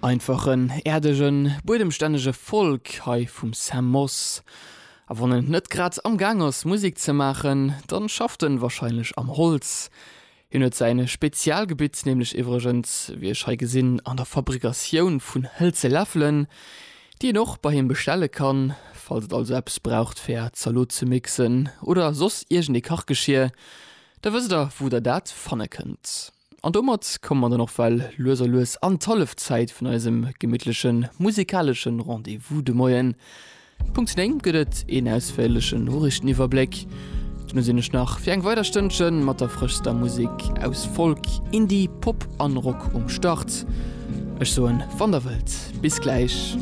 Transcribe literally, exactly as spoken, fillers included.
Einfachen, äerdegen, buedemstännege Folk hei vum Sam Moss. A wann en net grad am Gaang ass Musek ze maachen, dann schafft en warscheinlech am Holz. Hien huet säi Spezialgebitt nämlech iwwregens, wéi ech hei gesinn, an der Fabrikatioun vun hëlze Läffelen, déi een och bei him bestelle kann, falls et also eppes braucht fir Zalot ze mixen oder soss iergendee Kachgeschier, da wësst der wou der dat fanne kënnt. An domat komme mer dann och well lues a lues an d'Hallefzäit vun eisem gemittlechen musikaleschen Rendez-vous de Moien. Punkt néng gëtt et een ausféierlechen Noriichteniwwerbléck. Duerno sinn ech nach fir eng weider Stënnchen mat der frëschster Musek aus Folk, Indie, Pop an Rock um Start. Ech soen, wann der wëllt, bis gläich.